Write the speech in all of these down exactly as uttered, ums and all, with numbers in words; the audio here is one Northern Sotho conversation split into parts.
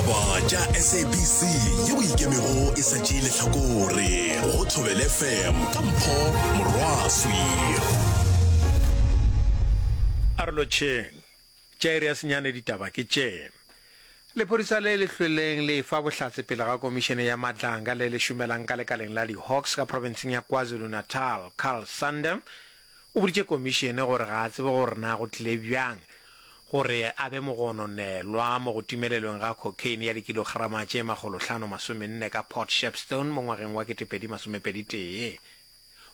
Ditaba tša S A B C yeo ikemego e sa tšee lehlakore go Thobela F M ka Mpho Morwaswi. A re lotšheng. Tša iri ya senyane ditaba ke tše. Lephodisa le le hlweleng le efa bohlatse pele ga komišene ya Madlanga le le šomelang ka lekaleng la di-Hawks ka profenseng ya KwaZulu-Natal, Carl Sander, o boditše komišene gore ga a tsebe gore na go tlile bjang gore a be mogononelwa mo go timelelweng ga cocaine ya dikilograma tše makgolohlano masomenne ka Port Shepstone mo ngwageng wa ketepedi masomepedi tee.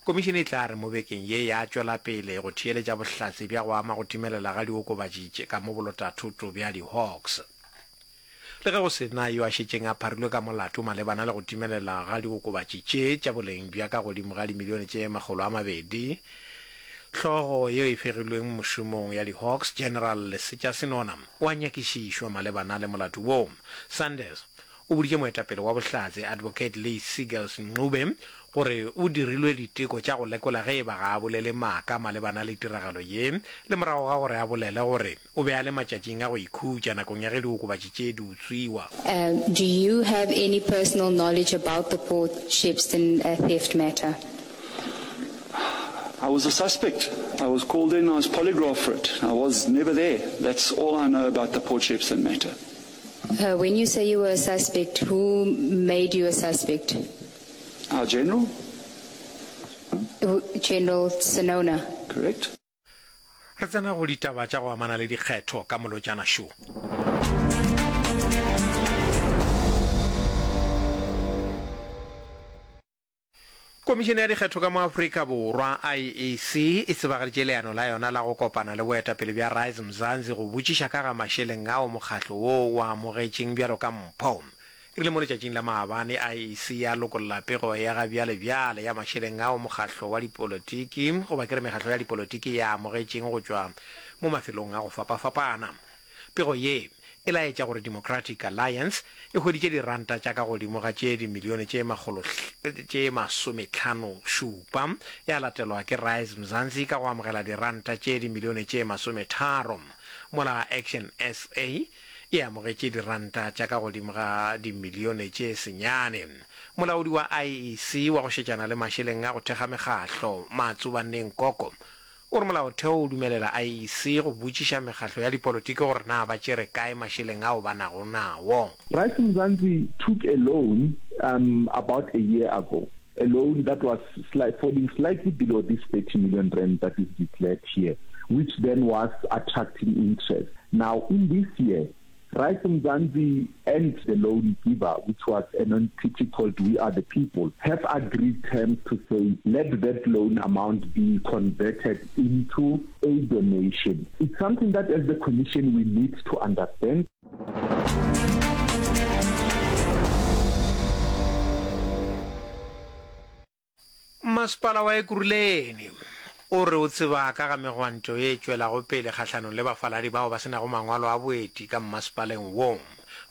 Komišene e tla re mo bekeng ye ya tšwela pele go theeletša bohlatse bja go ama go timelela ga diokobatši tše ka mo bolotathoto bja di-Hawks. Le ge go se na yo a šetšeng a pharilwe ka molato malebana le go timelela ga diokobatši tše tša boleng bja ka godimo ga dimilione tše makgolo a mabedi, hlogo yeo e fegilweng mošomong ya di-Hawks, General Lesetša Senona, o a nyakišišwa malebana le molato woo. Sanders o boditše moetapele wa bohlatse, Advocate Lee Seagulls Ncube, gore o dirilwe diteko tša go lekola ge e ba ga a bolele maaka malebana le tiragalo ye, le morago ga gore a bolele gore o be a le matšatšing a go ikhutša nakong ya ge diokobatši tše di utswiwa. Um, do you have any personal knowledge about the Port Shepstone uh, theft matter? I was a suspect. I was called in, I was polygraphed for it. I was never there. That's all I know about the Port Shepstone matter. Uh, when you say you were a suspect, who made you a suspect? Our general? General Senona. Correct. Re tsena go ditaba tša go amana le dikgetho ka molotšana šo. Komišene ya Dikgetho ka mo Afrika Borwa, I E C, e tsebagaditše leano la yona la go kopana le boetapele bja Rise Mzansi go botšiša ka ga mašeleng ao mokgatlo woo o a amogetšeng bjalo ka mpho. E rile mo letšatšing la maabane I E C ya lokolla pego ya ga bjalebjale ya mašeleng ao mokgatlo wa dipolotiki goba ke re mekgatlo ya dipolotiki e a amogetšeng go tšwa mo mafelong a go fapafapana. Pego ye e laetša gore Democratic Alliance e hweditše diranta tša ka godimo ga tše dimilione tše makgolo tše masometlhano šupa, ya latelwa ke Rise Mzansi ka go amogela diranta tše dimilione tše masometharo, mola Action S A e amogetše diranta tša ka godimo ga dimilione tše senyane. Molaodi wa I E C wa go šetšana le mašeleng a go thekga mekgatlo, Matsobane Nkoko, o re molaotheo o dumelela I E C go botšiša mekgatlo ya dipolotiki gore na ba tšere kae mašeleng ao ba nago nawo. Rise Mzansi took a loan um, about a year ago, a loan that was sli- falling slightly below this thirty million rand that is declared here, which then was attracting interest. Now, in this year, Rise Mzansi and the loan giver, which was an entity called We Are the People, have agreed terms to say let that loan amount be converted into a donation. It's something that as the Commission we need to understand. Masepala wa Ekurhuleni o re o tseba ka ga megwanto ye e tšwelago pele kgahlanong le bafaladi bao ba se nago mangwalo a boeti ka mmasepaleng wo.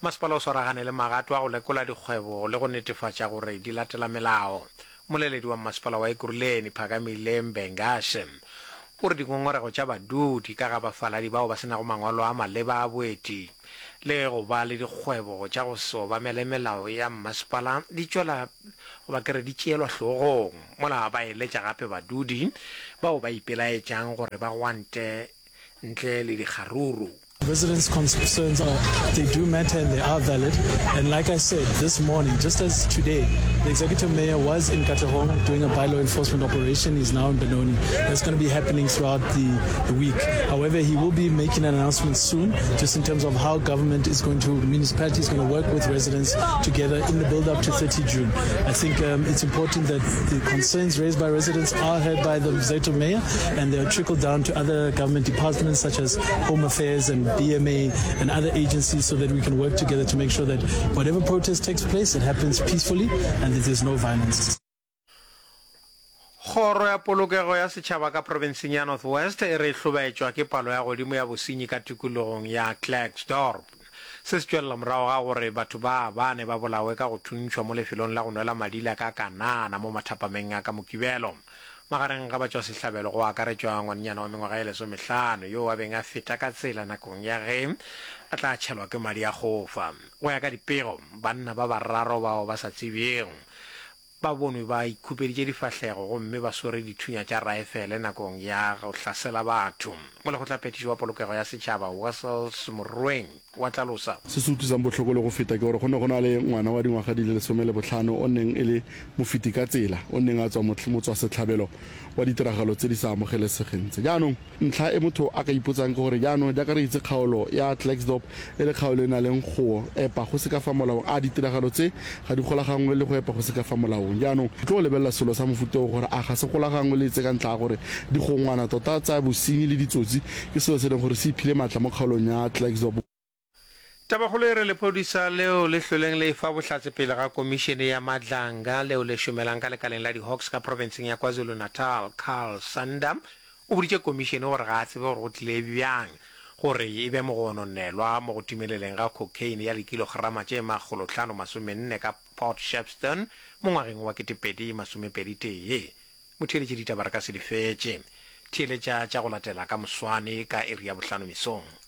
Masepala o swaragane le magato a go lekola dikgwebo le go netefatša gore di latela melao. Mmoleledi wa mmasepala wa Ekurhuleni, Phakamile Mbengashe, o re dingongorego tša badudi ka ga bafaladi bao ba se nago mangwalo a maleba a boeti le go ba le dikgwebo tša go se obamele melao ya mmasepala di tšwela goba ke re di tšeelwa hlogong, mola ba eletša gape badudi bao ba ipelaetšang gore ba gwante ntle le dikgaruru. Residents' concerns are, they do matter and they are valid. And like I said, this morning, just as today, the executive mayor was in Katlehong doing a bylaw enforcement operation. He's now in Benoni. That's going to be happening throughout the, the week. However, he will be making an announcement soon, just in terms of how government is going to, municipality is going to work with residents together in the build-up to thirty June. I think um, it's important that the concerns raised by residents are heard by the executive mayor and they are trickled down to other government departments such as Home Affairs and B M A and other agencies so that we can work together to make sure that whatever protest takes place, it happens peacefully and that there's no violence. Kgoro ya Polokego ya Setšhaba ka profenseng ya North West e re e hlobaetšwa ke palo ya godimo ya bosenyi ka tikologong ya Klerksdorp. Se se tšwelela morago ga gore batho ba bane ba bolawe ka go thuntšhwa mo lefelong la go nwela madila ka Kanana mo mathapameng a ka Mokibelo. Magareng ga batšwasehlabelo go akaretšwa ngwanenyana wa mengwaga ye lesomehlano yoo a beng a feta ka tsela nakong ya ge a tla tšhelwa ke madi a kgofa. Go ya ka dipego, banna ba bararo bao ba sa tsebjego ba bonwe ba ikhupeditše difahlego gomme ba swere dithunya tša raefele nakong ya go hlasela batho. Molekgotlaphethiši wa Polokego ya Setšhaba, Wessels Morweng, wa hlalosa. Se se utlwisang bohloko le go feta ke gore go ne go na le ngwana wa dingwaga di le lesome le bohlano o neng e le mofeti ka tsela o neng a tswa motswasetlhabelo wa ditiragalo tse di sa amogelesegeng tse. Jaanong ntlha e motho a ka ipotsang ke gore jaanong jaaka re itse kgaolo ya Klerksdorp e le kgaolo e na leng go epa go se ka fa molaong, a ditiragalo tse ga di golaganngwe le go epa go se ka fa molaong? Jaanong re tlo lebelela selo sa mofuta o gore a ga se golaganngwe le tse ka ntlha ya gore digongwana tota tsa bosenyi le ditsotsi ke selo se e leng gore se iphile maatla mo kgaolong ya Klerksdorp. Tabakgolo e re lephodisa leo le hlweleng le efa bohlatse pele ga Komišene ya Madlanga leo le šomelang ka lekaleng la di-Hawks ka profenseng ya KwaZulu-Natal, Carl Sander, o boditše komišene gore ga a tsebe gore go tlile bjang gore e be mogononelwa mo go timeleleng ga cocaine ya dikilograma tše makgolohlano masomenne ka Port Shepstone mo ngwageng wa ketepedi masomepedi tee. Motheeletši ditaba re ka se di fetše. Theeletša tša go latela ka moswane ka iri ya bohlano mesong.